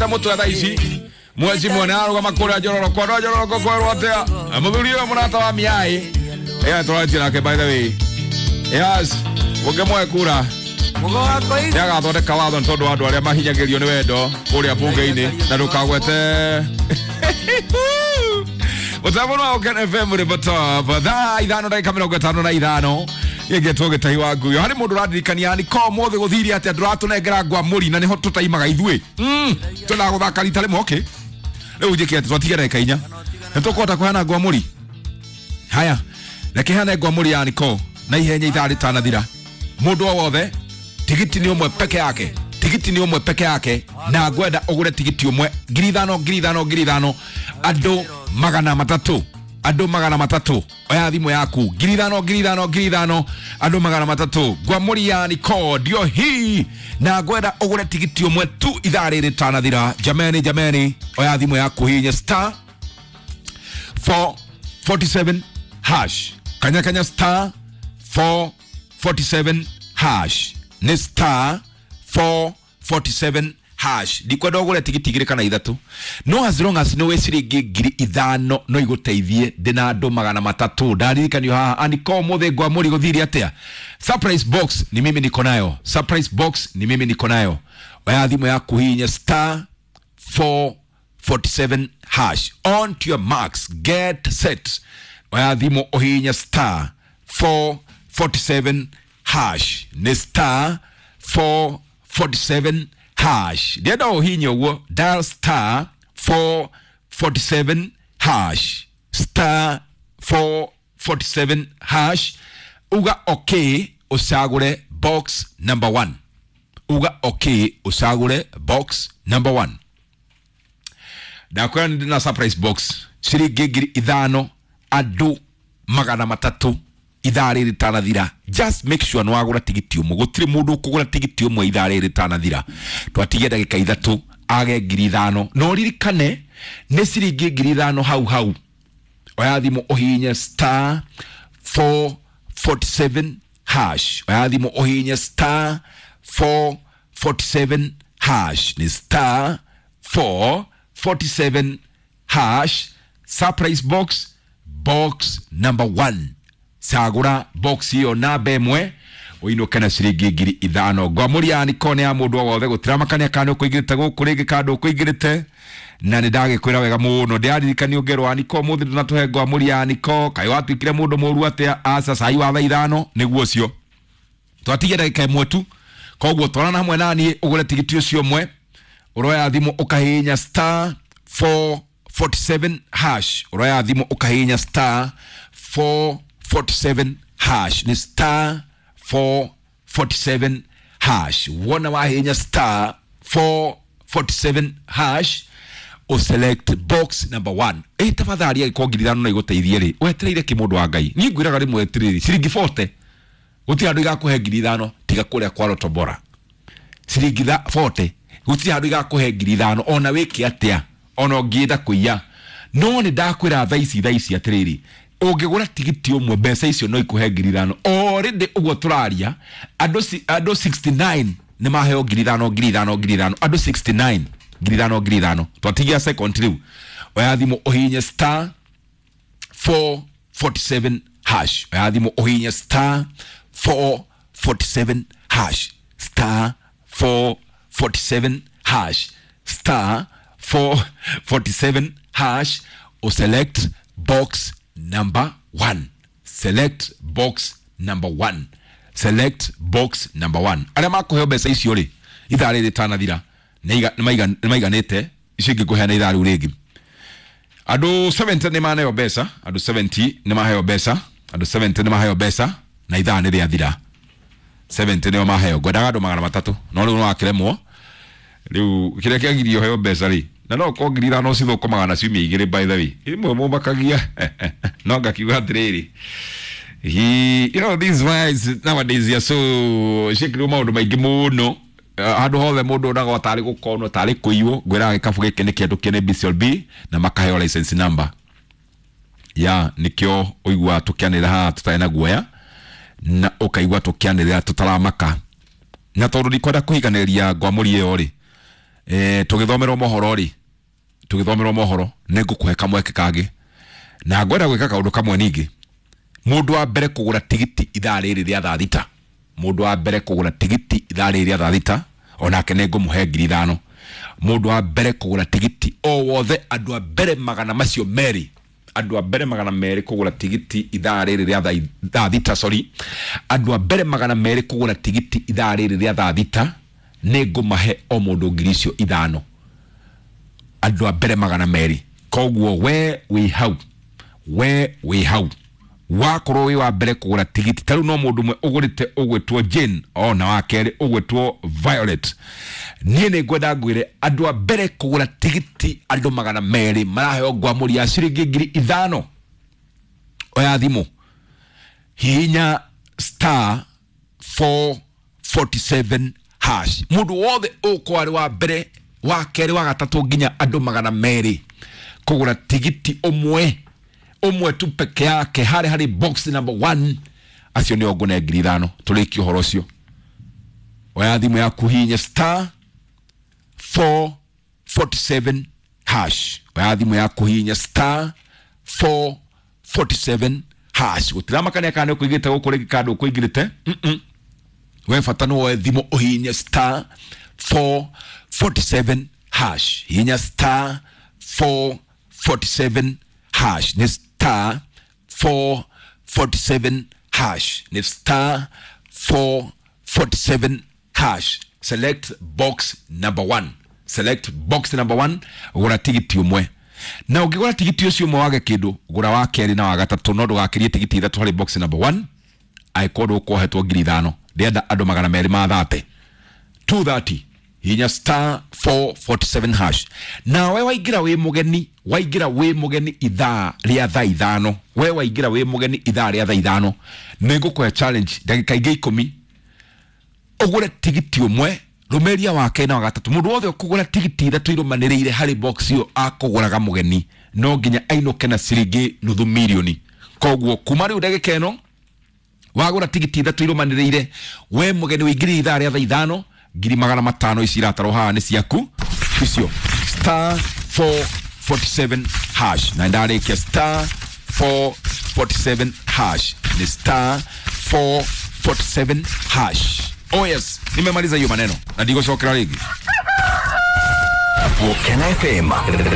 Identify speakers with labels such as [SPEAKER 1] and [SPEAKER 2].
[SPEAKER 1] Mũtwe thaa ici mwezi mwene arũgama kũrĩa Njororo kwa andũ a Njororo kwerwo atĩa mũthuri ũyũ mũrata wa miai ĩyo tũratie nake, by the way, yes, mũngĩmũhe kura nĩ agathondeka watho nĩ tondũ wa andũ arĩa mahinyagĩrio nĩ wendo kũrĩa bunge-inĩ na ndũkagwete mũtambo wa Oken FM rĩ thaa 5 ndagĩka 55 gĩngĩtwo gĩtahi wa nguyo harĩ mũndũ ũrandirikania nĩ ko mũthĩ gũthire atĩa ndũratũnengera ngwa mũri na nĩho tũtaimaga ithuĩ twendaga gũthaka rita rĩmwe. Okay, rĩu njĩke atĩ twatigia ndagĩka 4 nĩ tũkũhota kũheana ngwa mũri. Haya, reke heane ngwa mũri ya niko na ihenya ithaa rĩtanathira. Mũndũ o wothe tigiti nĩ ũmwe peke yake, tigiti nĩ ũmwe peke yake, na ngwenda ũgũre tigiti ũmwe 5,000 5,000 5,000, andũ 300, andũ 300. Oya thimũ yaku, 5,000 5,000 5,000, andũ 300. Ngwamũri ya niko ndio hii na ngwenda ũgũre tigiti ũmwe tu ithaa rĩrĩ rĩtanathira. Jameni, jameni, oya thimũ yaku hinya star 447 hash, kanya kanya star 447 hash, nĩ star 447 hash. Ndikwenda ũgũre tigiti 2 kana 3, no as long as nĩ wĩ ciringi 5,000 no igũteithie. Ndĩna andũ 300 ndaririkanio haha aniko mũthĩ ngwa mũri gũthire atĩa. Surprise box ni mimi niko nayo, surprise box ni mimi niko nayo. Oya thimũ yaku hinya star 447 hash. On to your marks, get set. Oya thimũ ũhihinye star 447 hash, nĩ star 447 hash. Ndienda ũhihinye ũguo, dial star 447 hash, star 447 hash, uga okay ũcagũre box number 1, uga okay ũcagũre box number 1. Ndakwĩra nĩ ndĩna surprise box ciringi 5,000 andũ 300 ithaa rĩrĩ rĩtanathira. Just make sure nĩ wagũra tigiti ũmwe, gũtirĩ mũndũ ũkũgũra tigiti ũmwe ithaa rĩrĩ rĩtanathira. Twatigia ndagĩka 3 age 5,000, no ririkane nĩ ciringi 5,000 hau hau. Oya thimũ ũhihinye star 447 hash, oya thimũ ũhihinye star 447 hash, nĩ star 447 hash. Surprise box, box number 1, cagũra box ĩyo namba 1 ũinũke na ciringi 5,000. Ngwamũri ya niko nĩ ya mũndũ o wothe, gũtiramakania kana ũkũingĩrĩte gũkũ rĩngĩ kana ndũkũingĩrĩte, na nĩ ndagĩkwĩra wega mũno. Ndĩraririkanio ngero wa niko mũthĩ ndũnatũhe ngwamũri ya niko, kaĩ watuĩkire mũndũ mũru atĩa? Aca, cai wa thaa 5 nĩguo ũcio. Twatigia ndagĩka 1 tu, koguo twarana hamwe naniĩ ũgũre tigiti ũcio ũmwe. Ũroya thimũ ũkahihinya star 447 hash, ũroya thimũ ũkahihinya star 447 hash, nĩ star 447 hash. Wona wahihinya star 447 hash ũselect box number 1. Ĩ tafadhali angĩkorwo 5,000 no igũteithie rĩ, wetereire kĩ mũndũ wa Ngai? Niĩ ngwĩraga rĩmwe atĩrĩrĩ, ciringi 40 gũtirĩ handũ igakũhe 5,000 tiga kũrĩa kwa Lotto Bora. Ciringi 40 gũtirĩ handũ igakũhe 5,000 ona wĩke atĩa, ona ũngĩenda kũiya. No nĩ ndakwĩra thaa ici, thaa ici atĩrĩrĩ, ũngĩgũra tigiti ũmwe mbeca icio no ikũhe 5,000. Already ũguo tũraria andũ 69 nĩ maheo 5,000 5,000 5,000, andũ 69 5,000 5,000. Twatigia second rĩu. Oya thimũ ũhihinye star 447 hash, oya thimũ ũhihinye star 447 hash, star 447 hash, star 447 hash, uselect box number 1, select box number 1, select box number 1. Arĩa makũheo mbeca icio rĩ ithaa rĩrĩ rĩtanathira nĩ maiganĩte, icio ingĩ ngũheana ithaa rĩu rĩngĩ. Andũ 70 nĩ maneo mbeca, andũ 70 nĩ maheo mbeca, andũ 70 nĩ maheo mbeca na ithaa nĩ rĩathira. 70 nĩo maheo, ngwendaga andũ 300 no rĩu no akĩremwo. Rĩu kĩrĩa kĩagirio heo mbeca rĩ, na no korwo 5,000 cithũkũmaga na ciumia 2 by the way, imwe mũmakagia no ngakiuga atĩrĩrĩ, you know these guys nowadays are so ciĩkĩrwo maũndũ maingĩ mũno handũ hothe mũndũ onagwo tarĩ gũkonwo tarĩ kũiywo. Ngwĩraga gĩkabũ gĩkĩ nĩ kĩandũkie nĩ BCLB na makaheo license number ya nĩkĩo ũiguaga tũkĩanĩrĩra haha tũtarĩ na guoya na ũkaigua tũkĩanĩrĩra tũtaramaka. Na tondũ ndikwenda kũhiganĩria ngwamũri ĩyo rĩ, Tũgĩthomerwo mohoro rĩ, tũgĩthomerwo mohoro nĩ ngũkũhe kamweke kangĩ, na ngwenda gwĩka kaũndũ kamwe ningĩ. Mũndũ wa mbere kũgũra tigiti ithaa rĩrĩ rĩa thaa 6, mũndũ wa mbere kũgũra tigiti ithaa rĩrĩ rĩa thaa 6, onake nĩ ngũmũhe 5,000. Mũndũ wa mbere kũgũra tigiti o wothe, andũ a mbere magana macio merĩ, andũ a mbere 200 kũgũra tigiti ithaa rĩrĩ rĩa thaa 6, sorry, andũ a mbere 200 kũgũra tigiti ithaa rĩrĩ rĩa thaa 6, nĩ ngũmahe o mũndũ 5,000. Andũ a mbere 200. Koguo we wĩ hau, we wĩ hau, wakorwo wĩ wa mbere kũgũra tigiti, ta rĩu no mũndũ ũmwe ũgũrĩte ũgwĩtwo Jane, ona wa kerĩ ũgwĩtwo Violet. Niĩ nĩ ngwenda ngwĩre, andũ a mbere kũgũra tigiti, andũ 200 maraheo ngwamũri ya ciringi 5,000. Oya thimũ, hihinya *447#. Mũndũ wothe ũkorwo arĩ wa mbere, wa kerĩ, wa gatatũ, nginya andũ 200 kũgũra tigiti ũmwe ũmwe tu peke yake harĩ box number 1, acio nĩo ngũne 5,000. Tũrĩkie ũhoro ũcio. Oya thimũ yaku, hihinya *447#. Oya thimũ yaku, hihinya *447#. Gũtiramakania kana nĩ ũkũigĩte gũkũ rĩngĩ kana ndũkũingĩrĩte. We bata nĩ woe thimũ ũhihinye *447#. Hihinya *447#. Nĩ *447#. Nĩ *447#. Select box number 1, select box number 1. Gũra tigiti ũmwe, na ũngĩgũra tigiti ũcio ũmwe wage kĩndũ, gũra wa kerĩ na wa gatatũ, no ndũgakĩrie tigiti ithatũ harĩ box number 1 angĩkorwo ndũkwohetwo 5,000. Ndĩrenda andũ 200 ma 30 230. Hinya *447#. Nawe waingĩra wĩ mũgeni, waingĩra wĩ mũgeni ithaa rĩa thaa 5, we waingĩra wĩ mũgeni ithaa rĩa thaa 5, nĩ ngũkũhe challenge ndagĩka ingĩ 10, ũgũre tigiti ũmwe, rũmĩria wa kerĩ na wa gatatũ. Mũndũ wothe ũkũgũra tigiti ithatũ irũmanĩrĩire harĩ box ĩyo akũgũraga mũgeni, no nginya ainũke na ciringi nuthu mirioni. Koguo kuma rĩu ndagĩka ĩno, wagũra tigiti ithatũ irũmanĩrĩire, we mũgeni ũingĩrire ithaa rĩa thaa 5, 500,000 ici iratarwo haha nĩ ciaku icio. *447#. Na ndarĩkia, *447#. Ni *447#. Oh yes, nimemaliza hiyo maneno na ndigũcokera rĩngĩ.
[SPEAKER 2] Gũkena FM.